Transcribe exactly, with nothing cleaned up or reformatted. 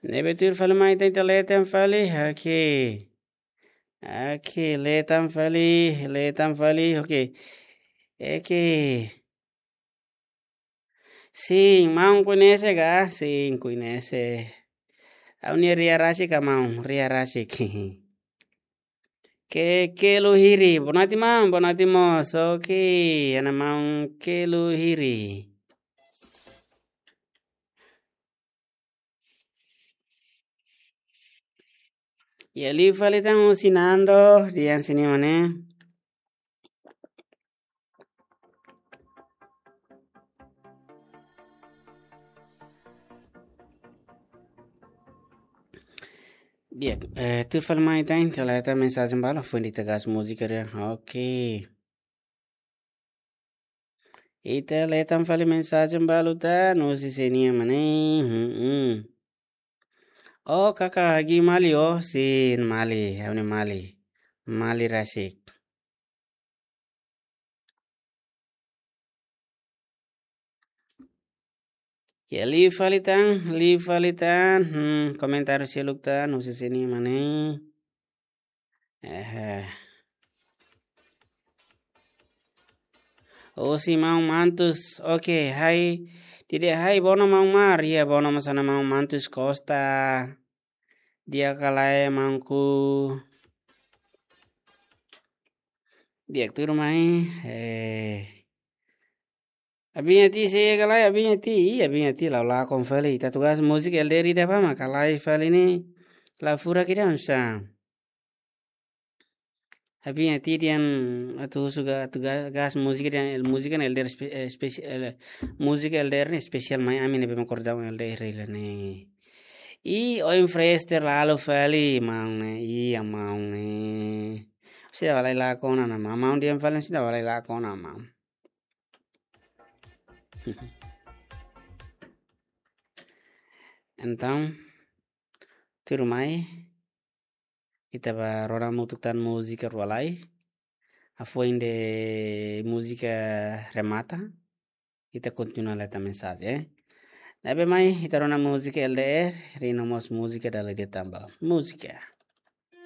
Ne'ebé tuir fali mai ita, ita lee tan fali. Oke. Oke, lee tan fali, lee tan fali. Oke. Oke. Sin, maun koñese ka? Sin, koñese. Ha'u-nia ria rasik ka maun, ria rasik. Ke, Kelu Hiri, boa noite maun, boa noite mós. Oke, ha'u-nia maun Kelu Hiri. Iha liu fali tan husi Nando, di'ak, sini mana? Di'ak, eh, tuir fali mai tan, ita lee tan mensajen balu, foin ita gás múzika ida. Oke. Ita lee tan fali mensajen balu tan, husi sini mana? Hmm, hmm. Oh, kaka Hagi Mali, oh, sin Mali, ha'u-nia Mali. Mali rasik. Ya, liu fali tan, liu fali tan. Hmm, komentáriu seluk tan, husi sini mana? Eh. Husi maun Mantus, oke, hai. Tidak, hai, bono maun Mar, ya, bono mós ha'u-nia maun Mantus Costa. Di'ak ka lae maunku. Di'ak tuir mai, eh. Abinha ti sei ka lae, abinha ti, ih, abinha ti la'o lakon fali. Ita atu gás múzika L D R ida ba, mak ka lae fali ne'e. La furak ida oinsá. Abinha ti dehan atu husu ga-, atu ga-, gás múzika dehan múzika ne'e L D R espe-, eh, espesi-, eh, múzika L D R ne'e espesiál mai ami ne'ebé mak kordau L D R hela ne'e. Ih, oin fresh terlalu fali, maun ne'e. Iya, maun ne'e. Seidauk halai lakon ona, maun. Maun dehan fali seidauk halai lakon ona, maun. Entaun, tuir mai, ita bá rona hamutuk tan múzika rua lai. Hafoin de múzika remata, ita kontinua lee tan mensajen, eh. Ne'ebé mai, ita rona múzika L D R, rona mós múzika dala ida tan ba. Múzika.